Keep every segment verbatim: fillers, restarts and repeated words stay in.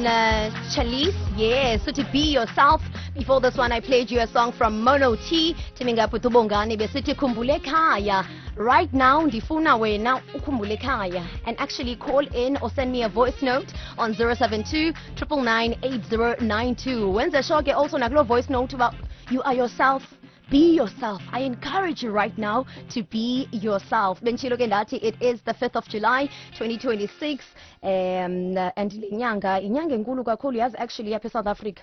Alvin uh, Chalice. Yes, so to be yourself. Before this one, I played you a song from Mono T. Teaming up with Ubongani besithi khumbule ekhaya. Right now, ndifuna wena ukhumbule ekhaya. And actually call in or send me a voice note on zero seven two nine nine nine eight zero nine two. Wenze sure ke also nakulo voice note about you are yourself. Be yourself. I encourage you right now to be yourself. Benditshilo ke ndathi it is the fifth of July twenty twenty-six, um and le nyanga inyanga enkulu kakhulu, yazi, actually apha eSouth Africa.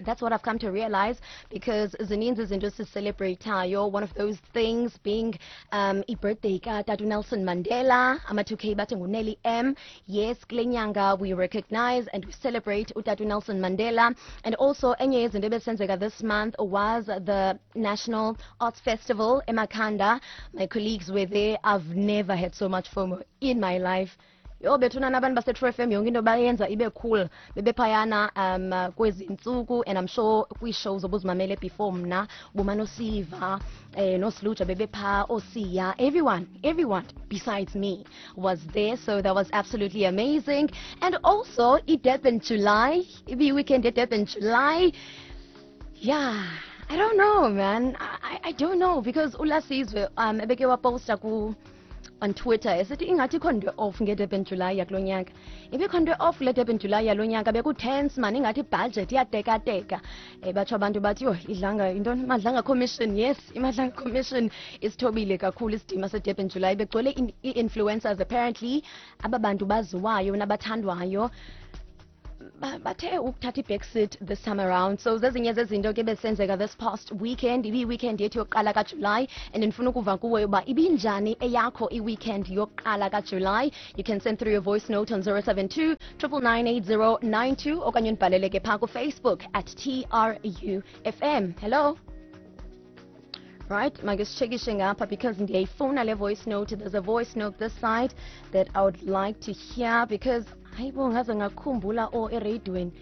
That's what I've come to realize, because zininzi izinto esicelebratayo. One of those things being um, i-birthday katata Nelson Mandela, ama two K bathi nguNelly M. Yes, kule nyanga we recognize and we celebrate utata Nelson Mandela. And also enye yezinto ebesenzeka this month was the National Arts Festival eMakhanda. My colleagues were there. I've never had so much FOMO in my life. Yho bethuna, abantu base-True F M yonke into bayenza ibe cool. Bebephayana um kwezi ntsuku, and I'm sure kwii-shows obuzimamele before mna ubumane usiva eh noSiluja bebephaa, oSiya, everyone everyone besides me was there, so that was absolutely amazing. And also i-Durban July, ibiyi-weekend ye-Durban July. Yeah, I don't know, man. I, I don't know, because uLasizwe um ebeke waposta ku on Twitter esithi ingathi ikho nto off ngeDurban July yakulo nyaka. Ibikho nto off le Durban July yalo nyaka, bekutense man, ingathi ibudget iyatekateka. um batsho abantu bathi yho, idlanga intoni, Madlanga Commission. Yes, iMadlanga Commission isithobile kakhulu isidima seDurban July. Begcwele ii-influencers apparently, aba bantu baziwayo nabathandwayo ba- bathe ukuthatha i-backseat this time around. So zezinye zezinto ke besenzeka this past weekend. Ibiyi-weekend yethu yokuqala kaJulayi, and ndifuna ukuva kuwe uba ibinjani eyakho i-weekend yokuqala kaJulayi. You can send through your voice note on zero seven two nine nine nine eight zero nine two okanye undibhalele ke phaa kuFacebook at T R U F M. Hello. Right, make sichekishe ngapha because ndiyayifuna le voice note. There's a voice note this side that I would like to hear, because hayibo, ngaze ngakhumbula o ereyidweni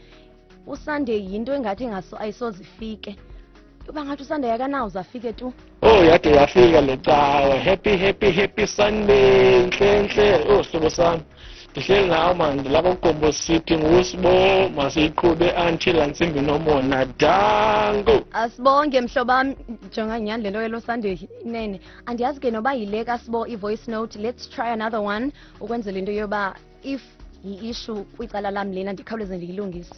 uSunday yinto engathi ingaso ayisoze ifike, uba ngathi uSunday akanawuze afike tu. Oh, yade yafika le cawe. Happy, happy, happy Sunday. Nhle nhle. Oh, sihlobo sami. Ndihleli nawe man, ndilapha kuGombo City nguSibo, masiyiqhube until antsimbi nomona. Danko. Asibonge, mhlobam. Jonga, nyhani le nto yelo Sunday inene andiyazi ke noba yile kaSibo i-voice note. Let's try another one ukwenzela into yoba if yi-issue kwicala lam lena ndikhawuleze ndiyilungise.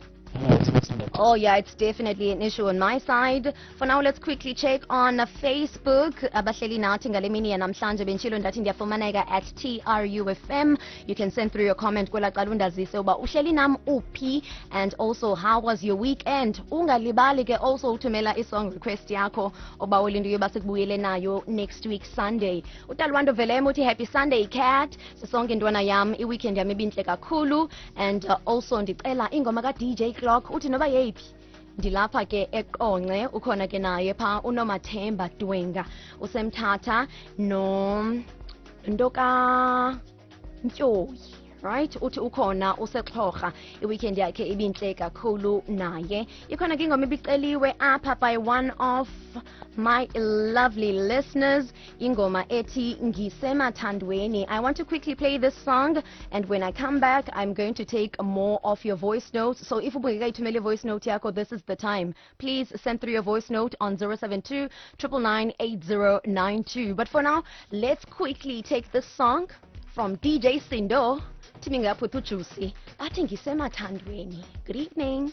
Oh yeah, it's definitely an issue on my side. For now, let's quickly check on Facebook. Abahleli nathi ngale mini yanamhlanje, benditshilo ndathi ndiyafumaneka at T R U F M. You can send through your comment kwela cala undazise uba uhleli nam uphi and also how was your weekend. Ungalibali ke also uthumela i-song request yakho obawela into yoba sikubuyele nayo next week Sunday. UTalwando Velem uthi, "Happy Sunday, Cat. Sisonke ntwana yam, i-weekend yam ibintle kakhulu and uh, also ndicela ingoma ka-D J Clock, uthi noba yeyiphi, ndilapha ke eQonce." Ukhona ke naye phaa uNomathemba Dwenga usemthatha no nto kaNtyoyi, right? Uthi ukhona usexhorha, iweekend yakhe ibintle kakhulu naye. Ikhona ke ingoma ibiceliwe apha by one of my lovely listeners, ingoma ethi Ngisemathandweni. I want to quickly play this song, and when I come back I'm going to take more of your voice notes. So if ubungekayithumeli voice note yakho, this is the time. Please send through your voice note on zero seven two nine nine nine eight zero nine two. But for now, let's quickly take this song from D J Sindo teaming up with uJuicy, athi Ngisemathandweni. Good evening.